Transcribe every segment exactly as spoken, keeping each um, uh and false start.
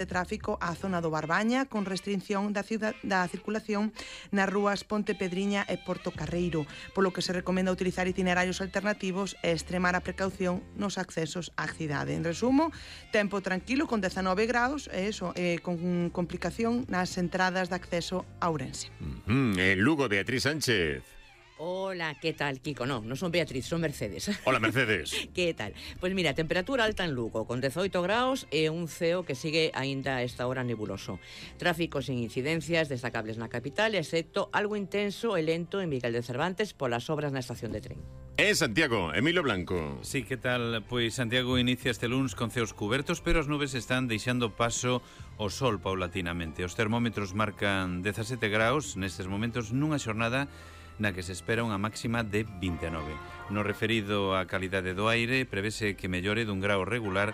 de tráfico á zona do Barbaña con restricción da, ciudad, da circulación nas rúas Ponte Pedriña e Porto Carreiro, polo que se recomenda utilizar itinerarios alternativos e extremar a precaución nos accesos á cidade. En resumo, tempo tranquilo con dezanove graus e eso, eh, con complicación nas entradas de acceso a Ourense. Mm-hmm. En Lugo, Beatriz Sánchez. Hola, ¿qué tal, Kiko? No, non son Beatriz, son Mercedes. Hola, Mercedes. ¿Qué tal? Pues mira, temperatura alta en Lugo, con dezoito graus e un ceo que sigue aínda a esta hora nebuloso. Tráfico sin incidencias destacables na capital, excepto algo intenso e lento en Miguel de Cervantes polas obras na estación de tren. É Santiago, Emilio Blanco. Sí, que tal? Pois Santiago inicia este luns con ceos cubertos, pero as nubes están deixando paso ao sol paulatinamente. Os termómetros marcan dezasete graus nestes momentos nunha xornada na que se espera unha máxima de vinte e nove. No referido á calidade do aire, prevese que mellore dun grau regular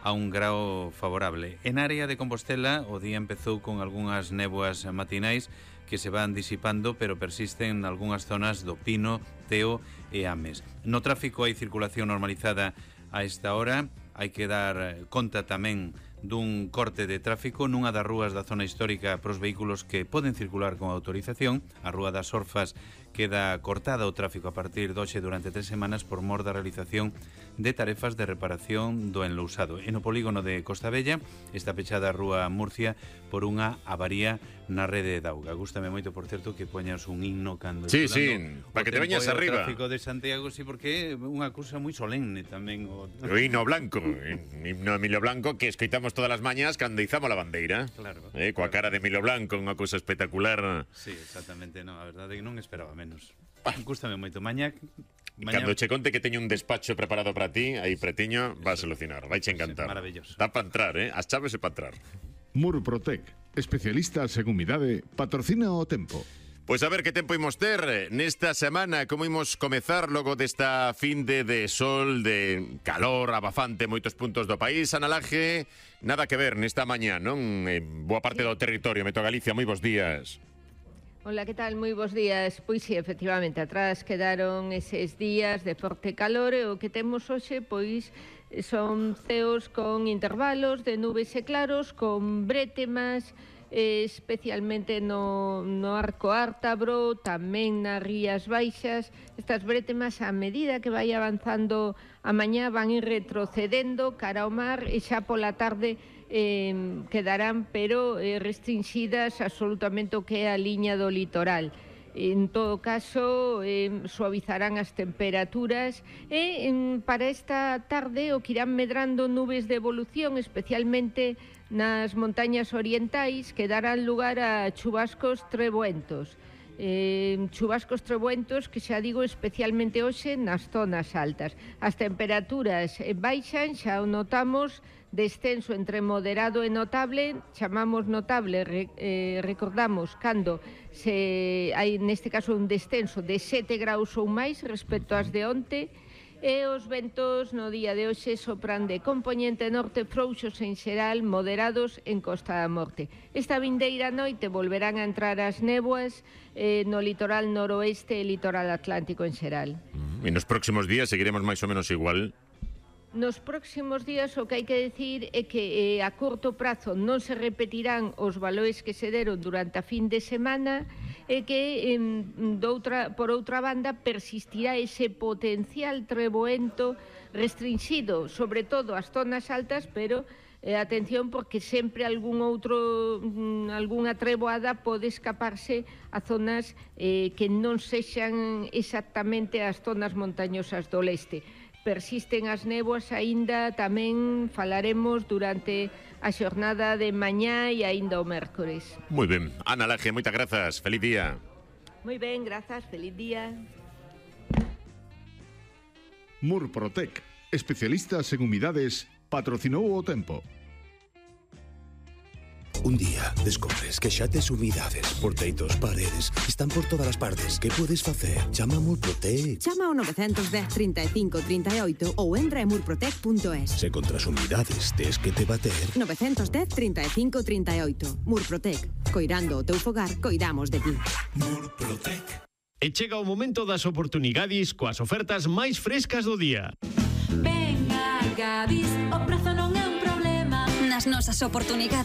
a un grau favorable. En área de Compostela, o día empezou con algunhas néboas matinais que se van disipando, pero persisten en algunhas zonas do Pino, Teo e Ames. No tráfico hai circulación normalizada a esta hora. Hai que dar conta tamén dun corte de tráfico nunha das rúas da zona histórica para os vehículos que poden circular con autorización. A Rúa das Orfas queda cortada o tráfico a partir de hoxe durante tres semanas por mor da realización de tarefas de reparación do enlousado. E no polígono de Costa Bella está pechada a Rúa Murcia por unha avaría na rede de auga. Gústame moito, por certo, que poñas un himno cando... Sí, sí, para que te veñas arriba. O tráfico de Santiago, sí, porque é unha cousa moi solemne tamén. O, o himno blanco, himno Emilio Blanco, que escoitamos todas as mañas cando izamos a bandeira. Claro. Eh, coa cara de Emilio Blanco, unha cousa espectacular. Sí, exactamente, no, a verdade é que non esperaba menos. Gústame moito. Mañá... Mañá... Cando che conte que teño un despacho preparado para ti, aí pretiño, vas a alucinar, vai che encantar. Sí, maravilloso. Dá para entrar, eh? As chaves é para entrar. Murprotec, especialistas en humidade, patrocina o tempo. Pois a ver que tempo imos ter nesta semana, como imos comezar logo desta finde de sol, de calor abafante en moitos puntos do país. Ana Laje, nada que ver nesta mañá, non? Eh, boa parte do territorio, Meto Galicia, moi bons días. Hola, que tal? Moi bons días. Pois sí, efectivamente, atrás quedaron eses días de forte calor e o que temos hoxe, pois, son ceos con intervalos de nubes e claros, con brétemas, especialmente no, no Arco Ártabro, tamén nas Rías Baixas. Estas brétemas, a medida que vai avanzando a mañá, van ir retrocedendo cara ao mar e xa pola tarde eh, quedarán, pero eh, restringidas absolutamente o que é a liña do litoral. En todo caso, eh, suavizarán as temperaturas e eh, para esta tarde o que irán medrando nubes de evolución, especialmente nas montañas orientais, que darán lugar a chubascos treboentos. Eh, chubascos treboentos que xa digo especialmente hoxe nas zonas altas. As temperaturas baixan, xa o notamos, descenso entre moderado e notable. Chamamos notable, re, eh, recordamos, cando se hai neste caso un descenso de sete graus ou máis respecto ás de onte. E os ventos no día de hoxe sopran de compoñente norte, frouxos en xeral, moderados en Costa da Morte. Esta vindeira noite volverán a entrar as néboas eh, no litoral noroeste e litoral atlántico en xeral. E nos próximos días seguiremos máis ou menos igual? Nos próximos días o que hai que decir é que eh, a curto prazo non se repetirán os valores que se deron durante a fin de semana e que, eh, doutra, por outra banda, persistirá ese potencial treboento restringido, sobre todo as zonas altas, pero eh, atención, porque sempre algún outro, algunha treboada pode escaparse a zonas eh, que non sexan exactamente as zonas montañosas do leste. Persisten as néboas aínda, tamén falaremos durante a xornada de mañá e aínda o mércores. Moi ben. Ana Laje, moitas grazas. Feliz día. Moi ben, grazas. Feliz día. Murprotec, especialistas en humidades, patrocinou o tempo. Un día descobres que xa tes humidades por teitos, paredes, están por todas as partes. Que podes facer? Chama a Murprotec. Chama ao nove un cero, trinta e cinco, trinta e oito ou entra en murprotec punto es. Se contra as humidades tes que te bater. nove un cero, trinta e cinco, trinta e oito. Murprotec. Coirando o teu fogar, coidamos de ti. Murprotec. E chega o momento das oportunidades coas ofertas máis frescas do día. Ven a Gadis, o prezo non é un problema. Na nas nosas oportunidades